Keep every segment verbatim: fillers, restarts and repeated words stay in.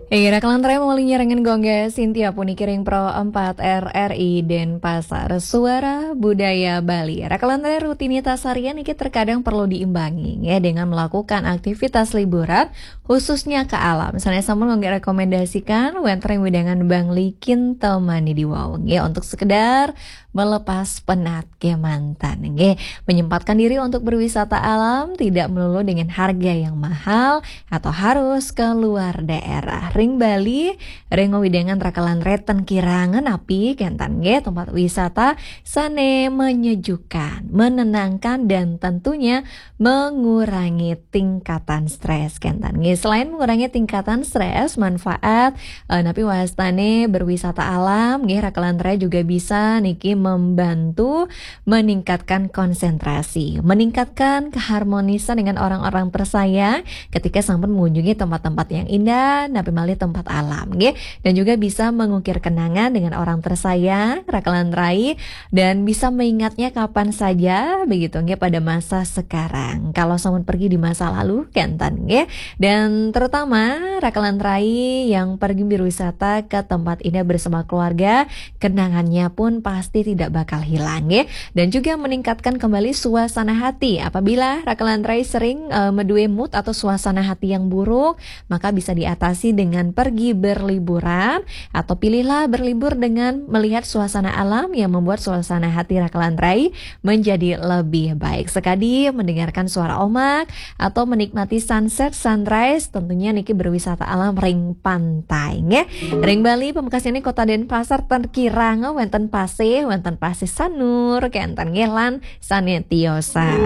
Iya, raka lantarai maulihi nyarengan Gung Sintia puniki ring Pro empat R R I Denpasar, Suara Budaya Bali. Raka lantarai rutinitas harian niki terkadang perlu diimbangi, ya, dengan melakukan aktivitas liburan, khususnya ke alam. Sanés sampun Gung rekomendasikan wénten ring wewidangan Bangli Kintamani Diwau, ya, untuk sekedar melepas penat kemanten, nggih. Menyempatkan diri untuk berwisata alam tidak melulu dengan harga yang mahal atau harus ke luar daerah. Ring Bali, ring wewidangan raka lantarai ten kirang napi kénten, nggih, tempat wisata sané menyejukkan, menenangkan, dan tentunya mengurangi tingkatan stres kénten, nggih. Selain mengurangi tingkatan stres, manfaat eh, napi wastané berwisata alam, nggih, raka lantarai juga bisa niki membantu meningkatkan konsentrasi, meningkatkan keharmonisan dengan orang-orang tersayang ketika sampun mengunjungi tempat-tempat yang indah, napi malih tempat alam, nggih. Dan juga bisa mengukir kenangan dengan orang tersayang, raka lantarai, dan bisa mengingatnya kapan saja, begitu, nggih, pada masa sekarang. Kalau sampun pergi di masa lalu, kénten, nggih. Dan terutama raka lantarai yang pergi berwisata ke tempat indah bersama keluarga, kenangannya pun pasti tidak bakal hilang, nggih. Dan juga meningkatkan kembali suasana hati. Apabila raka lantarai sering eh, medué mood atau suasana hati yang buruk, maka bisa diatasi dengan pergi berliburan, atau pilihlah berlibur dengan melihat suasana alam yang membuat suasana hati raka lantarai menjadi lebih baik. Sekadi mendengarkan suara ombak atau menikmati sunset, sunrise, tentunya niki berwisata alam ring pantai, nggih. Ring Bali, pamekasnyané Kota Denpasar ten kirang wénten pasih, wénten pasih Sanur, kénten, nggih, lan sané tiosan.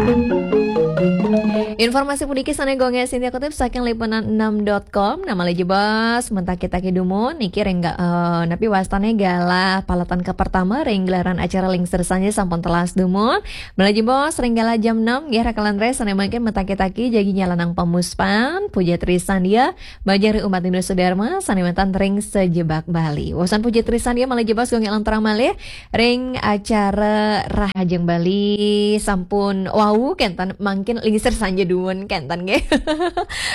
Informasi puniki sané Gung Sintia kutip saking liputan enam dot com. Nah, malih jebos, mentaki-taki dumun niki ring ga-, eh, napi wastané galah paletan kapertama ring gelaran acara Lingsir Sanja sampun telas dumun. Malih jebos, ring galah jam enam, nggih, raka lantarai sané mangkin mentaki-taki jagi nyalanang pamuspan, puja trisandia, majeng ring umat Hindu sedharma sané wénten ring sajebag Bali. Wusan puja trisandia malih jebos, Gung lanturang malih ring acara Rahajeng Bali sampun wau kénten, mangkin Lingsir Sanja dumun kénten, nggih.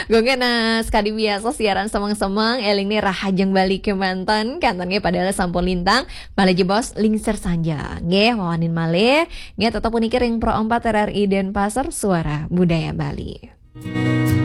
Gung, nah, sekadi biasa siaran semeng-semeng, éling nih Rahajeng Bali kémanten, kénten, nggih, padahal sampun lintang, malih jebos Lingsir Sanja, nggih, wawanin malih, nggih, tetep puniki ring Pro empat R R I Denpasar, Suara Budaya Bali.